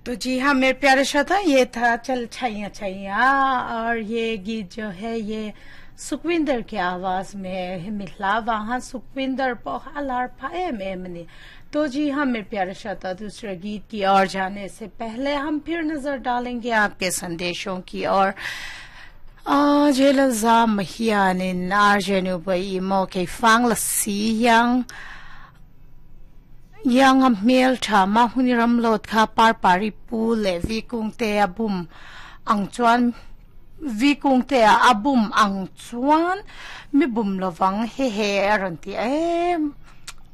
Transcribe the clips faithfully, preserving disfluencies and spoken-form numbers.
तो जी हाँ मेरे प्यारे श्रोता, ये था चल छैया छैया और ये गीत जो है ये सुखविंदर के आवाज में मिला वहां सुखविंदर पोहालार फाए में। तो जी हाँ मेरे प्यारे श्रोता, दूसरे गीत की ओर जाने से पहले हम फिर नजर डालेंगे आपके संदेशों की ओर। Jelza mahianin arjenu bai mo ke fang la si yang yang a mel tha ma huni ram lot kha par pari pu le vi kung te a bum ang chuan vi kung te a abum ang chuan mi bum lovang he he aron ti em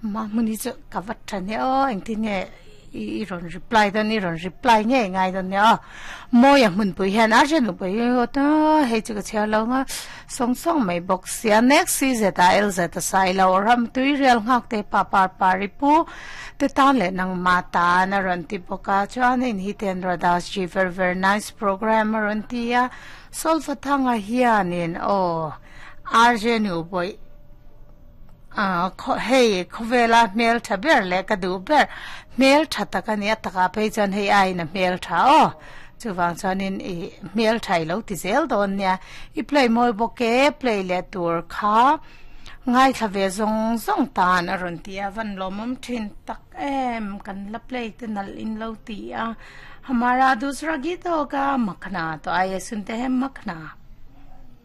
ma muni chu ka vat tha ne o eng ti nge i ron reply dan i ron reply nge ngai dan ne a mo ya mun pui hian a jen pui o ta hei chu ka chhiar lo nga song song mai bawk sia. Next si zeta l zeta sai lo ram tui real ngak te pa par pari pu te tan le nang ma ta na ron ti boka chuan in Hitendra Das ji very very nice program ron ti a solfa thanga hianin o arjenu boy a hei khowela mel tha ber le ka du ber mel tha taka ni ataka phei chan hei ai na mel tha o chuwang chuanin i mel thai lo ti zel don nia i play moi boke play le tur kha ngai tha ve zong zong tan a ron tia van lomom thin tak em kan la play te nal in lo ti a. हमारा दूसरा गीत होगा मखना, तो आइए सुनते हैं मखना।